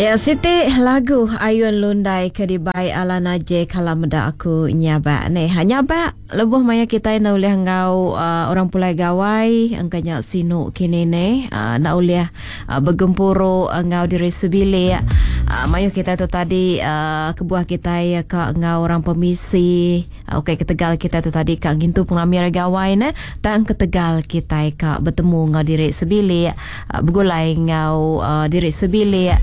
Ya siti lagu Ayun Lundai ke dibai Alana J kala meda aku nyabak neh. Ha nyabak lebuh maya kitai enda ulih enggau uh, orang pulai gawai engka nya sinu kini neh uh, enda ulih uh, begempuru enggau diri sebilik. Uh, mayuh kitai tu tadi uh, kebuah kitai ka enggau orang pemisi Ukai ketegal kitai tu tadi ka ngintu pengerami Hari Gawai ne, tang ketegal kitai ka betemu enggau diri sebilik, begulai enggau diri sebilik.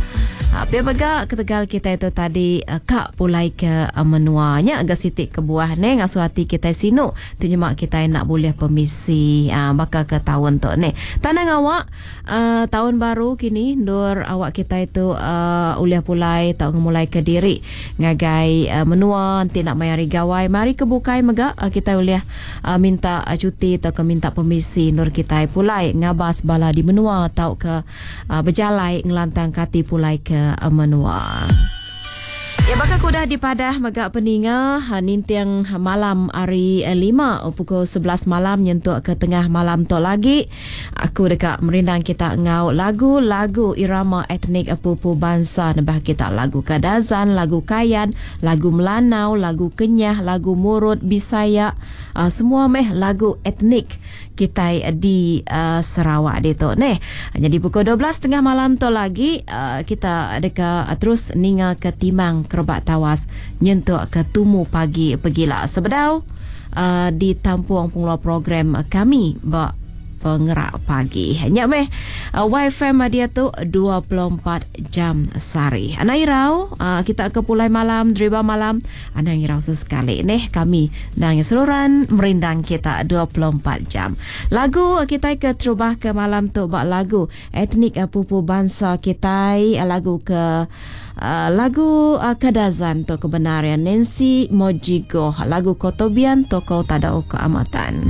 Pia mega ketegal kitai tu tadi ka pulai ke menua. Nya ga siti kebuah ne ngasuh ati kitai sinu ti nyema kitai enda bulih pemisi baka ke taun tu neh. Tang nang awak taun baru kini endur awak kitai tu ulih pulai tau ngemulaika diri. Ngagai menua enti enda maya hari gawai maya hari ke bukai mega kitai ulih minta cuti tauka minta pemisi endur kitai pulai ngabas bala di menua tauka bejalai ngelantangka ati pulai ke menua. Ya baka ke udah dipadah mega peninga ninting malam hari lima pukul 11 malam nyentuk ke tengah malam tu lagi. Aku deka merindang kita enggau lagu-lagu irama etnik pupu bansa nebah kita lagu Kadazan, lagu Kayan, lagu Melanau, lagu Kenyah, lagu Murut, Bisaya, semua meh lagu etnik kitai di Sarawak ditu neh. Nyadi pukul 12 tengah malam tu lagi kita deka terus ninga ke timang kerebak tawas nyentuk ke tumu pagi pegila sebedau ditampung pengeluar program kami ba Pengerak Pagi. Nya meh YFM diatu 24 jam sehari. Anang irau kita ke pulai malam, deriba malam, anang irau sesekali neh kami nang seruran merindang kita 24 jam. Lagu kitai ke terubah ke malam tu ba lagu Etnik pupu bansa kitai lagu ke lagu Kadazan tu ke bendar iya Nancy Mojigoh lagu Kotobian Tokou Tadau Keamatan.